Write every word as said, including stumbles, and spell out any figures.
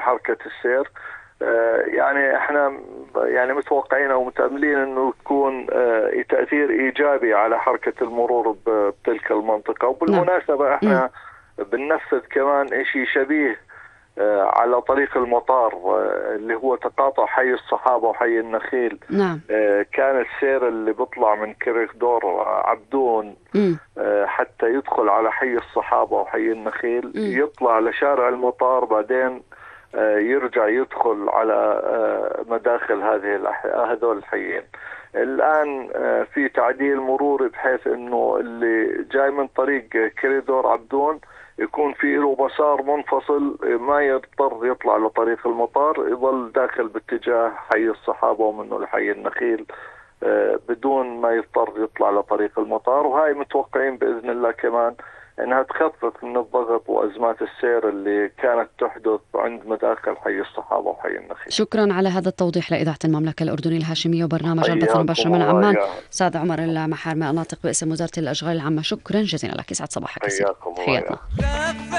حركة السير. يعني احنا يعني متوقعين او متأملين انه تكون تأثير ايجابي على حركة المرور بتلك المنطقة. وبالمناسبة احنا بننفذ كمان اشي شبيه على طريق المطار اللي هو تقاطع حي الصحابة وحي النخيل. نعم. كان السير اللي بيطلع من كريدور عبدون م. حتى يدخل على حي الصحابة وحي النخيل، م. يطلع لشارع المطار، بعدين يرجع يدخل على مداخل هذه هذول الحيين. الآن في تعديل مروري بحيث انه اللي جاي من طريق كريدور عبدون يكون في له مسار منفصل، ما يضطر يطلع لطريق المطار، يظل داخل باتجاه حي الصحابة ومنه لحي النخيل بدون ما يضطر يطلع لطريق المطار. وهاي متوقعين بإذن الله كمان انها تخفف من الضغط وازمات السير اللي كانت تحدث عند مداخل حي الصحابة وحي النخيل. شكرا على هذا التوضيح لإذاعة المملكة الأردنية الهاشمية وبرنامج البث المباشر من عمان. سادة عمر المحارمة، الناطق باسم وزارة الأشغال العامة، شكرا جزيلا لك. يسعد صباحك. حياكم الله.